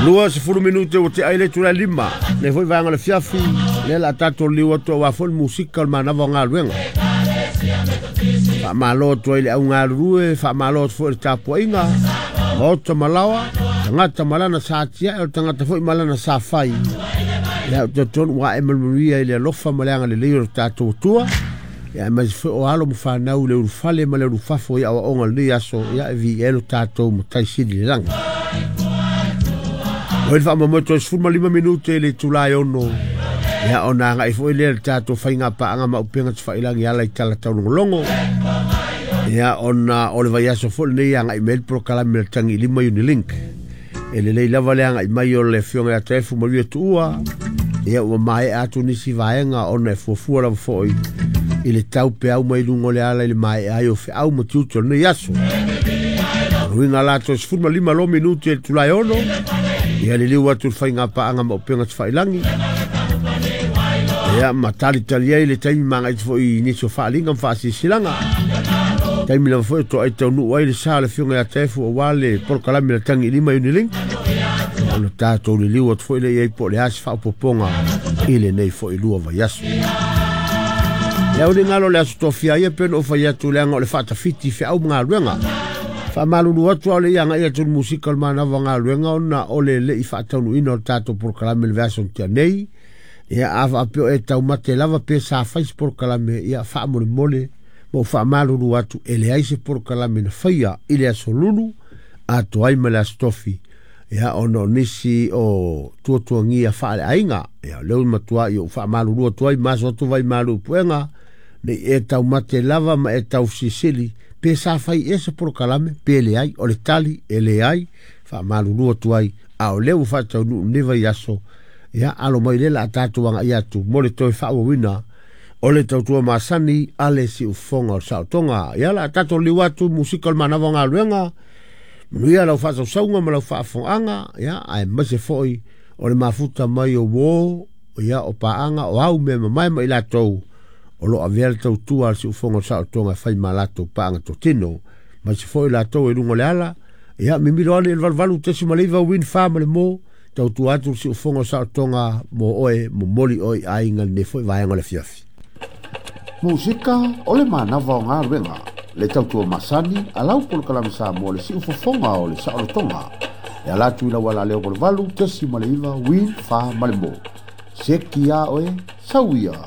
20 minute ua te'a i le itulā e 5 lenei foi vaega o le afiafi, lea o le a tatou liliu atu auā foi le musika o le manava o galuega. Faamalo atu ai i le au galulue, faamalo atu foi i le tapuaiga, maota ma laoa, tagata ma lana sa atiae, o le tagata foi ma lana sa fai. Ia, ou te talitonu ua ae ma le manuia i le alofa ma le agalelei o le tatou Atua. Ia, aemaise foi o alo ma fanau i le ulufale ma le ulufafo i aoaoga o lenei aso, ia e viia ai lo tatou Matai Sili i le lagi. Oi le faamoemoe toe 15 minute i le itula e 6, ia ona agai foi lea i le tatou faiga paaga ma upega tafailagi e ala i tala taulogologo. Ia ona o le vaiaso foi lenei e agai mai ai le polokalame a le Tagi i Lima Unilink. E lelei lava le agai mai o le Afioga ia Taefu Maria Tuua, ia ua maea atu nisi vaega ona e fuafua lava foi i le tau peau mai luga o le ala i le maea ai o feau ma tiute o lenei aso. O luiga la toe 15 loa minute i le itula e 6, ia liliu atu le faiga paaga ma upega tafailagi. Ia ma talitali ai le taimi magaiti foi i nisi o faaaliga ma faasilasilaga. Taimi lava foi o toai taunuu ai le sa o le Afioga ia Taefu aua le polokalame a le Tagi i Lima Unilink. Ona tatou liliu atu foi lea i ai po o le a se faaopoopoga i lenei foi lua vaiaso. Ia o le galo le aso tofia ia pe ona ou fai atu leaga o le faatafiti feau ma galuega. Faamalulu atu a o le i agai atu i le musika o le manava o galuega ona o le le i faataunuuina o le tatou polokalame i le vaiaso na tea nei. Ia a faapea o e taumate lava pe sa fai se polokalame, ia faamolemole ma ou faamalulu atu e leai se polokalame na faia i le aso Lulu atoa ai ma le aso Tofi. Ia ona o nisi o tuatuagia faaleaiga, ia o lea ua matua i ou faamalulu atu ai ma aso atu vai malu i puega, nei e taumate lava ma e taufesilisili pe sa fai ea se polokalame pe leai. O le tali e leai, faamalulu atu ai, a o lea ua faataunuu lenei vaiaso. Ia alo mai lea o le a tatou agai atu mo le toe faaauauina o le tautua masani a le siufofoga o le saotoga. Ia o le a tatou liu atu musika o le manava o galuega, manuia lau faasausauga ma lau faafofogaaga, ia aemaise foi o le mafuta mai o uo, ia o paaga, o au mea mamae ma i latou o lo o avea le tautua a le siufofoga o le saotoga e fai ma latou paaga totino, aemaise foi i latou e luga o le ala. Ia mimilo ane i le 88.9 Win 4 ma le mo, tautua atu le siufofoga o le saotoga mo oe, momoli oe i aiga i lenei foi vaega o le afiafi. Musika o le manava o galuega, le tautua masani a lau polokalame Samoa le siufofoga o le saolotoga. E ala atu i lau alaleo 88.9 Win 4 ma le mo. Seki a oe, sau ia.